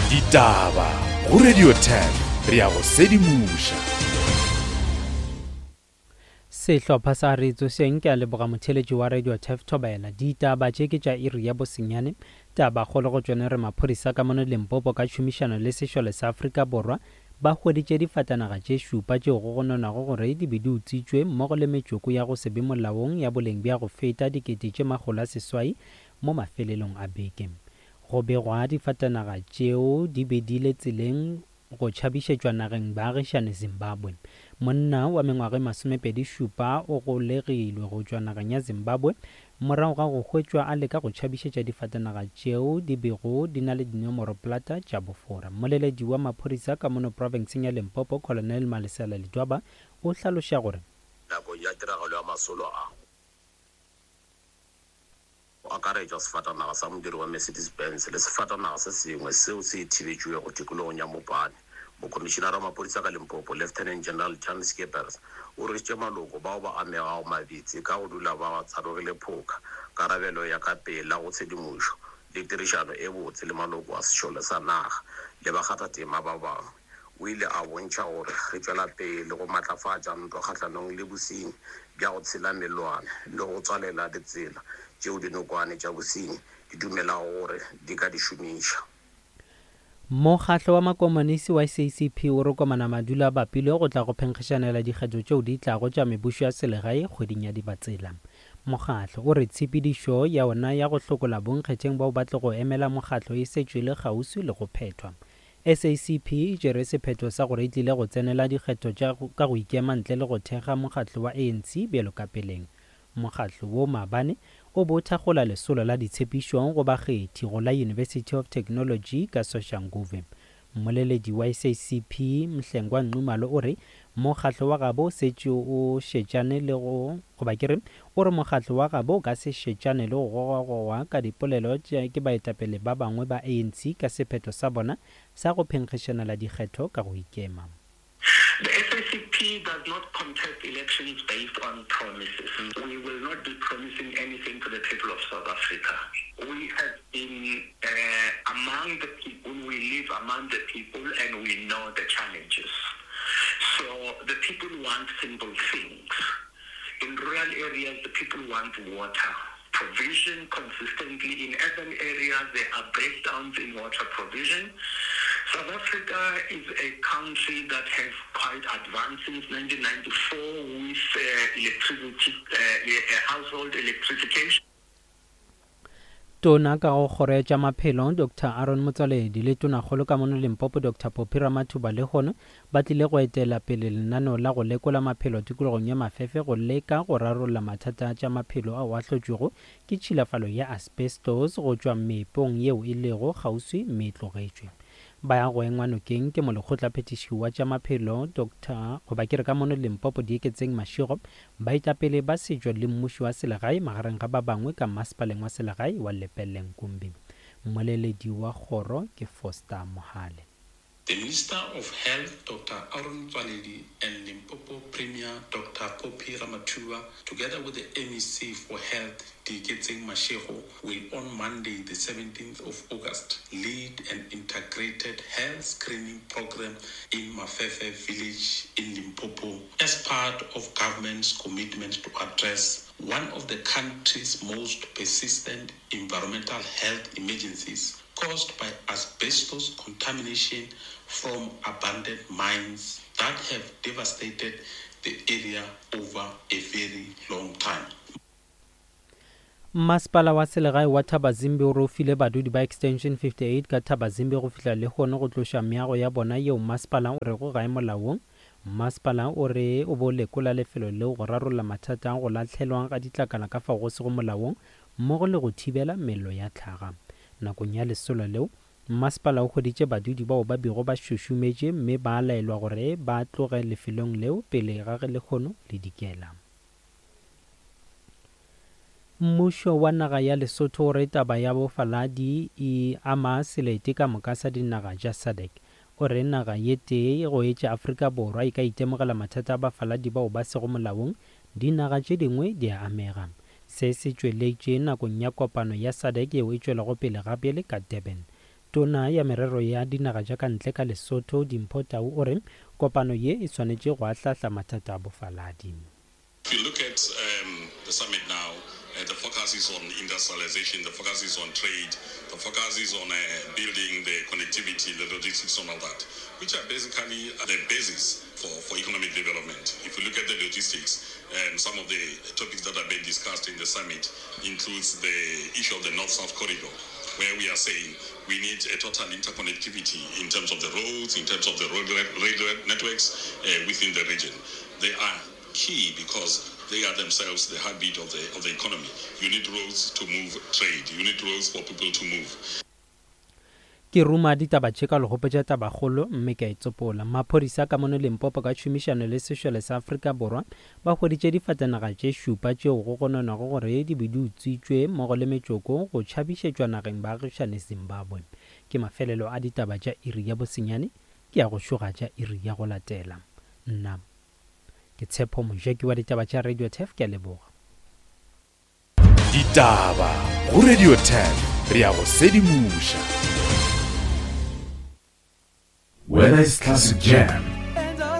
Ditaba go Radio 10 re ya go sedimoša. Sehlopha sa Re Tsošeng ke a leboga motheeletši wa Radio Turf Thobela. Ditaba tše ke tša iri ya bosenyane. Tabakgolo go tšone re maphodisa ka mono Limpopo ka tšhomišano le sešole sa Afrika Borwa ba hweditše difatanaga tše šupa tšeo go gononwago gore di be di utswitšwe mmogo le metšoko ya go se be molaong ya boleng bja go feta 800,000 mo mafelelong a beke. Go begwa difatanaga tšeo di be di le tseleng go tšhabišetšwa nageng baagišane Zimbabwe. Monna wa mengwaga e masomepedi šupa o golegilwe go tšwa nageng ya Zimbabwe morago ga go hwetšwa a leka go tšhabišetša difatanaga tšeo di bego di na le dinomoroplata tša bofora. Mmoleledi wa maphodisa ka mono profenseng ya Limpopo, Colonel Malesela Ledwaba o hlaloša gore, Nakong ya tiragalo ya masolo a. go akaretšwa sefatanaga sa modiri wa Mercedes-Benz le sefatanaga se sengwe seo se thibetšwego tikologong ya Mopani. Mokhomišinara wa maphodisa ka Limpopo, Lieutenant General Jan Scheepers, o rwešitše maloko bao ba amegago mabitsi ka go dula ba tsarogile phoka, karabelo ya ka pela go tshedimošo le tirišano e botse le maloko a sešole sa naga le bakgathatema ba bangwe. O ile a bontšha gore re tšwela pele go matlafatša ntwa kgahlanong le bosenyi bja go tshela mellwane le go tswalela ditsela tšeo dinokwane tša bosenyi di dumelago gore di ka di šomiša. Mokgatlo wa Makomonisi wa SACP o re komana madulo a bapilwe go tla go phenkgišanela dikgetho tšeo di tlago tša mebušo ya selegae kgweding ya Dibatsela. Mokgatlo o re tshepedišo ya ona ya go hlokola bonkgetheng bao ba tlogo emela mokgatlo e setšwe e le kgauswi le go phethwa. SACP e tšere sephetho sa gore e tlile go tsenela dikgetho tša ka go ikema ntle le go thekga mokgatlo wa ANC bjalo ka peleng. Mokgatlo wo maabane o be o thakgola lesolo la ditshepišo go bakgethi go la University of Technology ka Soshanguve. Mmoleledi wa SACP, Mhlengwa Nxumalo o re mokgatlo wa gabo o setše o šetšane le go goba ke re o re mokgatlo wa gabo o ka se šetšane le go gogwagogwa ka dipolelo tša ke baetapele ba bangwe ba ANC ka sephetho sa bona sa go phenkgišanela dikgetho ka go ikema. The SACP does not contest elections based on promises. We will not be promising anything to the people of South Africa. We have been uh, among the people, we live among the people, and we know the challenges. So the people want simple things. In rural areas, the people want water provision consistently. In urban areas, there are breakdowns in water provision. South Africa is a country that has quite advanced since 1994 with uh, electricity, uh, household electrification. Tona ka go Kgoro ya tša Maphelo, Doctor Aaron Motsoaledi le Tonakgolo ka mono Limpopo, Doctor Phophi Ramathuba lehono ba tlile go etela pele lenaneo la go lekola maphelo tikologong ya Mafefe go leka go rarolla mathata a tša maphelo ao a hlotšwego ke tšhilafalo ya asbestos go tšwa meepong yeo e lego kgauswi mme e tlogetšwe. Ba ya go engwa nokeng ke Molekgotlaphethiši wa tša Maphelo, Doctor goba ke re ka mono Limpopo Dieketseng Mashego Baetapele ba setšo le mmušo wa selegae magareng ga ba bangwe ka Masepaleng wa Selegae wa Lepelle-Nkumbi. Mmoleledi wa kgoro ke Foster Mohale. The Minister of Health Doctor Aaron Motsoaledi and Limpopo Premier Doctor Phophi Ramathuba together with the MEC for Health Dieketseng Mashego will on Monday the 17th of August lead an integrated health screening program in Mafefe village in Limpopo as part of government's commitment to address one of the country's most persistent environmental health emergencies caused by asbestos contamination from abandoned mines that have devastated the area over a very long time. Mmasepala wa selegae wa Thabazimbi o re o file badudi ba Extension 58 ka Thabazimbi go fihla lehono go tloša meago ya bona yeo mmasepala o rego ga e molaong. Mmasepala o re o be o lekola lefelo leo go rarolla mathata a go lahlelwa ga ditlakala ka fao go sego molaong mmogo le go thibela mello ya tlhaga. Nakong ya lesolo leo, mmasepala o hweditše badudi bao ba bego ba šošometše mme ba laelwa gore ba tloge lefelong leo pele ga ge lehono le dikela. Mmušo wa naga ya Lesotho o re taba ya bofaladi e ama selete ka moka sa dinaga tša SADC. O re naga ye tee go etša Afrika Borwa e ka itemogela mathata a bafaladi bao ba sego molaong, dinaga tše dingwe di a amega. Se se tšweletše nakong ya kopano ya SADC yeo e tšwelago pele gabjale ka Durban. Tona ya Merero ya Dinaga tša ka Ntle ka Lesotho, Dimpho Tau o re kopano ye e swanetše go ahlahla mathata a bofaladi. If you look at um, the summit now, uh, the focus is on industrialization, the focus is on trade, the focus is on uh, building the connectivity, the logistics, and all that, which are basically the basis for, for economic development. If you look at the logistics, um, some of the topics that have been discussed in the summit includes the issue of the North-South corridor, where we are saying we need a total interconnectivity in terms of the roads, in terms of the road railway networks uh, within the region. They are key because they are themselves the heartbeat of the, of the economy. You need roads to move trade. You need roads for people to move. Ke ruma ditaba tše ka legopotša tabakgolo mme ka e tsopola. Maphodisa ka mono Limpopo ka tšhomišano le sešole sa Afrika Borwa ba hweditše difatanaga tše šupa tšeo go gononwago gore di be di utswitšwe mmogo le metšoko go tšhabišetšwa nageng baagišane Zimbabwe. Ke mafelelo a ditaba tša iri ya bosenyane, ke ya go šoga tša iri ya go latela. Nna ke Tshepo Mojaki wa ditaba tša Radio Turf, ke a leboga. Ditaba go Radio Turf, re a go sedimoša. Whether it's classic jam,